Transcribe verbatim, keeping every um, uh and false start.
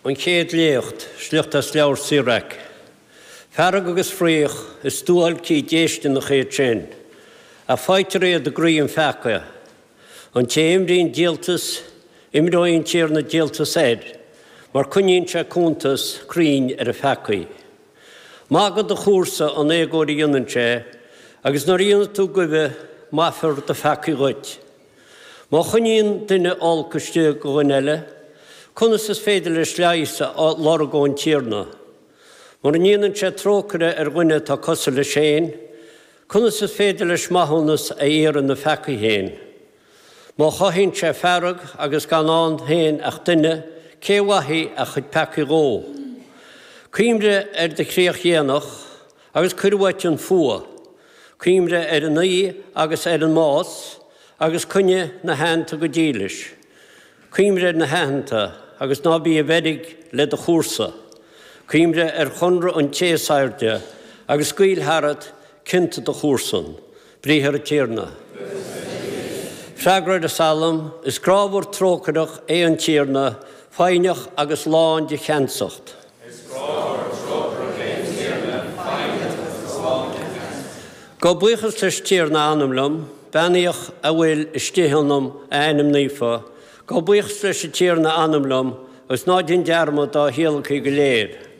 An chéad léacht, sliocht as leabhar Síoraic. Fearg agus fraoch is duáilcí déisteanach iad sin, ach faightear iad i gcroí an pheacaí. An té a imríonn díoltas, imreoidh an Tiarna díoltas air, mar coinníonn sé cuntas cruinn ar a pheacaí. Maith do chomharsa an éagóir a dhéanann sé, agus nuair a dhéanann tú goimh, maithfear do pheacaí dhuit. Má choinníonn duine olc istigh do dhuine eile, conas is féidir leis leigheas a lorg ón Tiarna? Mura ndéanann sé trócaire ar dhuine atá cosúil leis féin, conas is féidir leis maithiúnas a iarraidh ina pheacaí féin? Má chothaíonn sé fearg agus gan ann féin ach duine, cé a mhaithfidh a chuid peacaí dhó? Cuimhnigh ar do chríoch dhéanach agus cuir uait an fuath. Cuimhnigh ar an aoi agus ar an mbás agus coinnigh na haitheanta go dílis. Cuimhnigh ar na haitheanta agus ná bí i bhfeirg le do chomharsa. Cuimhnigh ar chonradh an Té is Airde agus scaoil tharat cionta do chomharsan. Briathar an Tiarna. Freagra ar an Salm, Is grámhar trócaireach é an Tiarna, foighneach agus lán de cheansacht. Is grámhar trócaireach é an Tiarna, foighneach agus lán de cheansacht. Gabh buíochas leis an Tiarna, a anam liom, beannaíodh a bhfuil istigh ionam a ainm naofa. Gabh buíochas leis an Tiarna, a anam liom, agus ná déan dearmad dá thíolacthaí go léir.